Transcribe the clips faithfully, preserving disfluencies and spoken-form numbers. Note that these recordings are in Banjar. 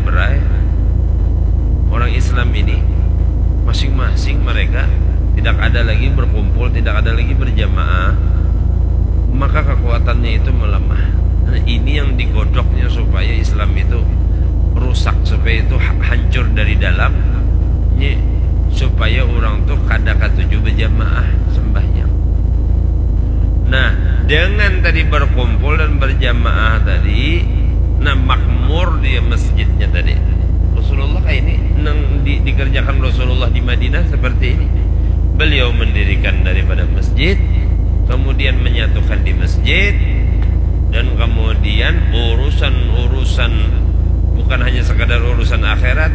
Berai, orang Islam ini masing-masing mereka tidak ada lagi berkumpul, tidak ada lagi berjamaah, maka kekuatannya itu melemah. Nah, ini yang digodoknya supaya Islam itu rusak, supaya itu ha- hancur dari dalam, ni supaya orang tuh kada katuju berjamaah sembahyang. Nah, dengan tadi berkumpul dan berjamaah tadi, nah, makmur dia masjidnya tadi. Rasulullah kayak ini nang di, dikerjakan Rasulullah di Madinah seperti ini. Beliau mendirikan daripada masjid, kemudian menyatukan di masjid, dan kemudian urusan-urusan, bukan hanya sekadar urusan akhirat,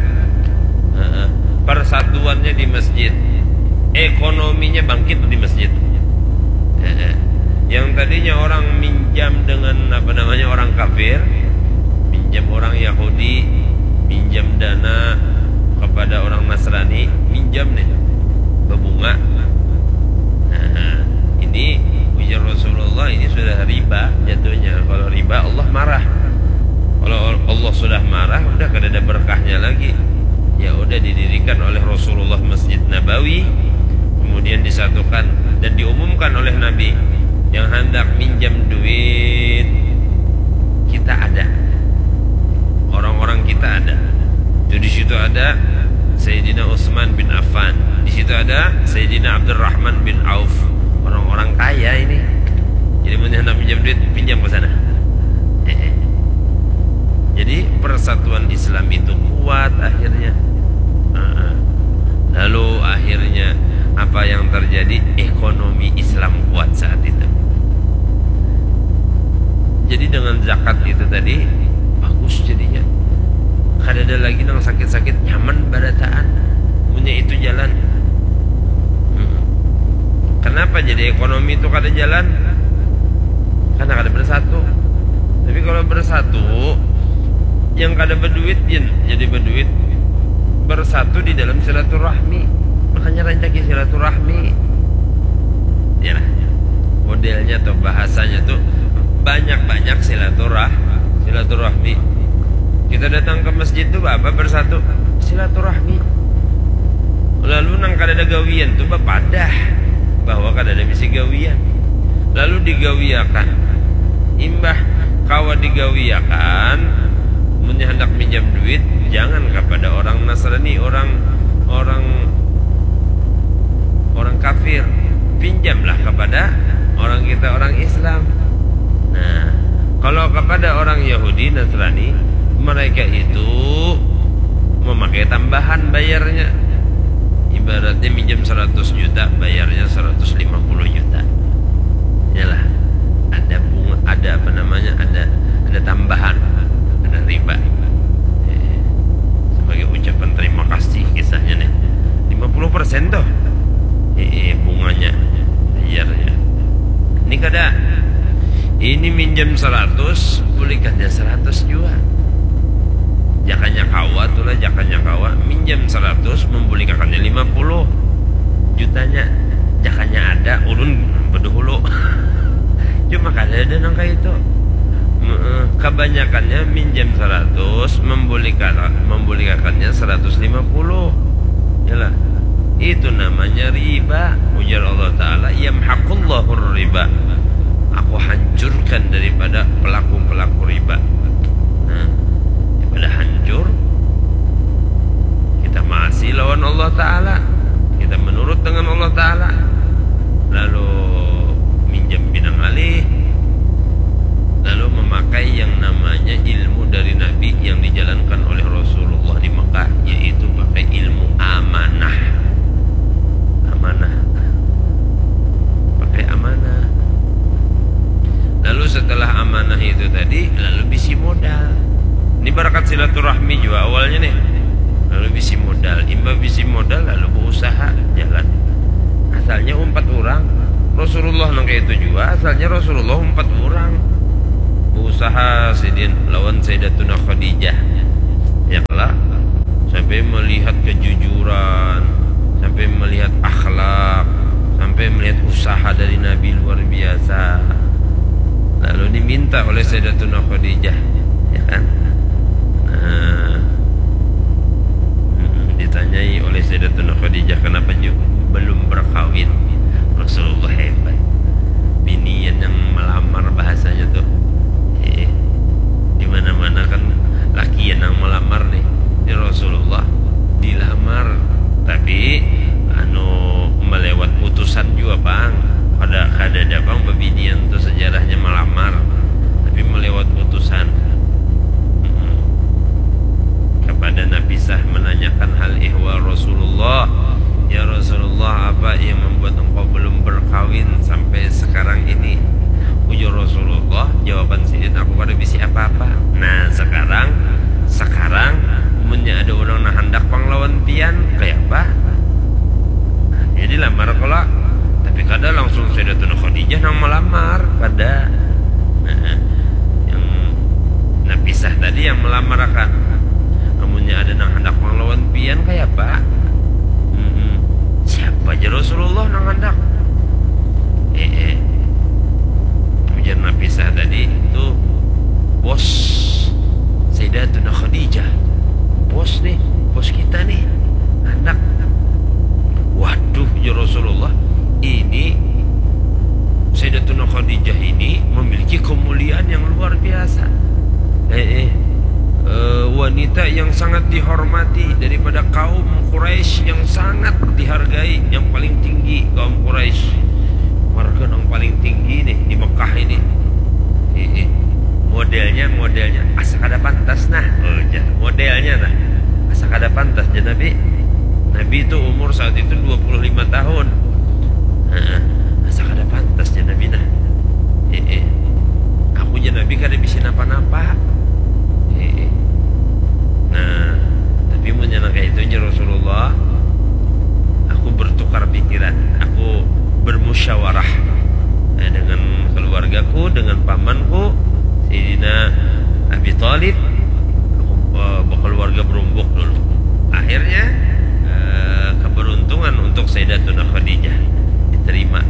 persatuannya di masjid, ekonominya bangkit di masjid. Yang tadinya orang minjam dengan, apa namanya, orang kafir, minjam orang Yahudi, minjam dana kepada orang Nasrani, minjam nih, berbunga. Nah, ini ujar Rasulullah, ini sudah riba jatuhnya. Kalau riba, Allah marah. Kalau Allah sudah marah, udah kada ada berkahnya lagi. Ya udah, didirikan oleh Rasulullah Masjid Nabawi, kemudian disatukan dan diumumkan oleh Nabi, yang hendak minjam duit, kita ada, orang-orang kita ada. Itu di situ ada Sayyidina Utsman bin Affan, di situ ada Sayyidina Abdurrahman bin Auf, orang-orang kaya ini. Jadi, mun hendak minjam duit, pinjam ke sana. Eh, eh. Jadi, persatuan Islam itu kuat akhirnya. Heeh. Lalu akhirnya apa yang terjadi? Ekonomi Islam kuat saat itu. Jadi, dengan zakat itu tadi bagus jadinya. Kada ada lagi nang sakit-sakit, nyaman barataan. Punya itu jalan. Hmm. Kenapa jadi ekonomi itu kada jalan? Karena kada bersatu. Tapi kalau bersatu, yang kada berduit, jin jadi berduit. Bersatu di dalam silaturahmi. Makanya rancaki silaturahmi. Ya lah. Modelnya atau bahasanya tuh banyak-banyak silaturah silaturahmi. Kita datang ke masjid tuh apa? Bersatu, silaturahmi. Lalu nang kada ada gawian tuh bapadah bahwa kada ada bisi gawian. Lalu digawiakan. Imbah kawa digawiakan, munnya hendak minjam duit, jangan kepada orang Nasrani, orang orang orang kafir, pinjamlah kepada orang kita, orang Islam. Nah, kalau kepada orang Yahudi, Nasrani, mereka itu memakai tambahan bayarnya. Ibaratnya minjam seratus juta, bayarnya seratus lima puluh juta. Yalah, ada bunga, ada, apa namanya, ada ada tambahan, ada riba. Eh, sebagai ucapan terima kasih kisahnya nih. Lima puluh persen tuh. Eh, eh, bunganya, bayarnya. Ini kada. Ini minjam seratus, bulikannya seratus jua. Jakanya kawa tuh lah, jakanya kawa. Minjam seratus, membulikannya lima puluh jutanya. Jakanya ada, ulun bedahulu. Cuma kada ada nang kaya itu. Heeh, kabanyakannya minjam seratus, membulikan, membuliakannya seratus lima puluh. Yalah. Itu namanya riba. Ujar Allah Ta'ala, "Yamhaqullahu riba." Aku hancurkan daripada pelaku-pelaku riba. Nah, daripada hancur, kita maasi lawan Allah Ta'ala, kita menurut dengan Allah Ta'ala, lalu minjam pinang alih, lalu memakai yang namanya ilmu dari Nabi yang dijalankan oleh Rasulullah di Mekah, yaitu pakai ilmu amanah. Amanah. Pakai amanah. Lalu setelah amanah itu tadi, lalu bisi modal. Ini barakat silaturahmi jua awalnya nih. Lalu bisi modal, imbah bisi modal lalu berusaha jalan. Asalnya umpat orang. Rasulullah nang kaya itu jua, asalnya Rasulullah umpat orang. Berusaha sidin lawan Sayyidatuna Khadijah. Ya lah, sampai melihat kejujuran, sampai melihat akhlak, sampai melihat usaha dari Nabi luar biasa. Lalu diminta oleh Sayyidatuna Khadijah, ya kan? Nah, Rasulullah dilamar, tapi anu melewat utusan juga pang. Kada kada ada pang bebinian tu sejarahnya melamar, tapi melewat utusan. Mm-mm. Kepada Nafisah menanyakan hal ihwal Rasulullah, ya Rasulullah, apa yang membuat engkau belum berkawin sampai sekarang ini? Ujar Rasulullah, jawaban sidin, aku kada bisi apa-apa. Nah, sekarang sekarang munnya ada orang nang handak pang lawan pian, kaya apa? Jadi lamar kalo, tapi kada langsung Sayyidatuna Khadijah nang melamar, kada. Nah, yang Nafisah tadi yang melamar akan. Amunnya ada nang handak pang lawan pian, kaya apa? Mm-mm. Siapa aja Rasulullah nang handak? Eh, eh. Ujar Nafisah tadi itu bos Sayyidatuna Khadijah. Bos nih, bos kita nih. Anak. Waduh, ya Rasulullah, ini Sayyidatuna Khadijah ini memiliki kemuliaan yang luar biasa. Eh, eh. Eh, wanita yang sangat dihormati daripada kaum Quraisy, yang sangat dihargai, yang paling tinggi kaum Quraisy. Marga nang paling tinggi nih di Mekah ini. Ih, ih. Modelnya, modelnya asa kada pantas nah. Oh, jar. Modelnya nah. Asa kada pantas, jar Nabi. Nabi itu umur saat itu dua puluh lima tahun. Heeh. Asa kada pantas, jar Nabi nah. Ih, ih. Aku, jar Nabi, kada bisi napa-napa. Ih, ih. Nah, tapi munnya nang kaya itu, jar Rasulullah, aku bertukar pikiran. Aku bermusyawarah, eh, dengan keluargaku, dengan pamanku, Sayyidina Abi Thalib. Aku, eh, berkeluarga berumbuk dulu. Akhirnya, eh, keberuntungan untuk Sayyidatuna Khadijah diterima.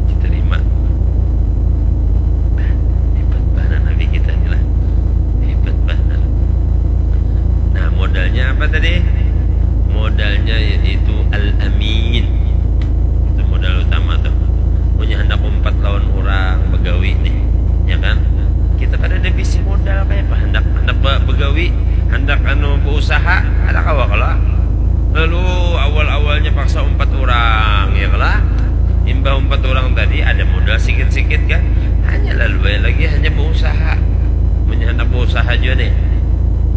Diterima. Hebat banar Nabi kita ni lah. Hebat banar. Nah, modalnya apa tadi? Modalnya yaitu al-amin. Itu modal utama tuh. Munnya handak umpat lawan urang bagawi nih, ya kan? Kita kada ada bisi modal kaya apa? Handak, handak ba-, bagawi, handak anu bausaha, kada kawa kalo. Lalu awal-awalnya paksa umpat urang, ya kalo? Imbah umpat urang tadi ada modal sikit-sikit kan? Hanya lalu bae lagi, hanya bausaha. Munnya handak bausaha jua nih.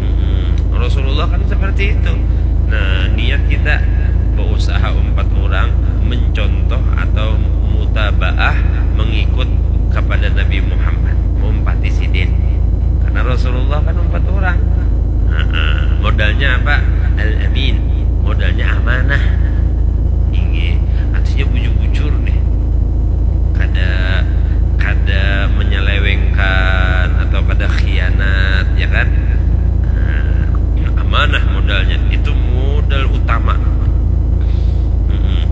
Mm-mm. Rasulullah kan seperti itu. Nah, niat kita bausaha umpat urang, mencontoh atau mutabaah, mengikut kepada Nabi Muhammad, meumpati sidin. Karena Rasulullah kan umpat urang. Heeh. Modalnya apa? Al-amin. Modalnya amanah. Inggih. Artinya bujur-bujur nih. Kada, kada menyelewengkan atau kada khianat, ya kan? Nah, amanah modalnya. Itu modal utama. Mm-mm.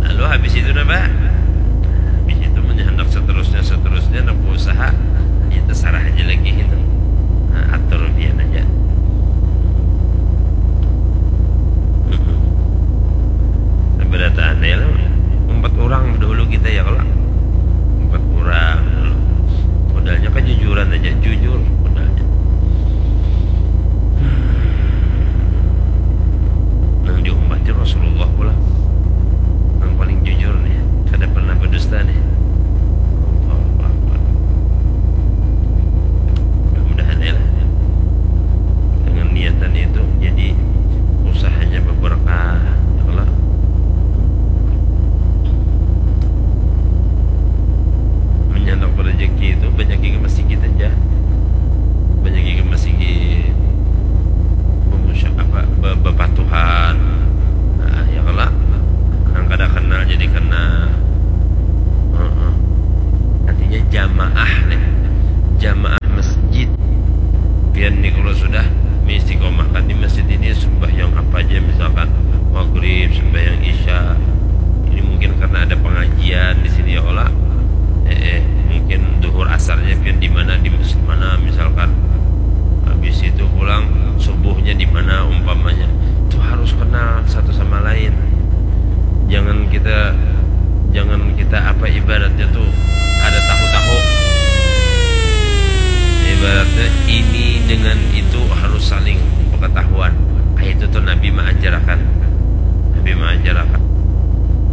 Lalu habis itu napa? Habis itu munnya handak seterusnya, seterusnya, handak bausaha, ya terserah aja lagi itu. Nah, atur pian aja. Mm-mm. Sabarataan ai lah. Umpat urang dahulu kita, ya kalo? Umpat urang dulu. Modalnya kejujuran aja, jujur modalnya. Nang diumpati Rasulullah pulang. Nang paling jujur nih, kada pernah berdusta nih. Allahu Akbar. Mudah-mudahan ya lah. Dengan niatan itu jadi usahanya berberkah, ya Allah. Menyandang rezeki itu banyak ke masjid aja. Ini dengan itu harus saling pengetahuan. Kayak itu tuh Nabi mengajarkan. Nabi mengajarkan.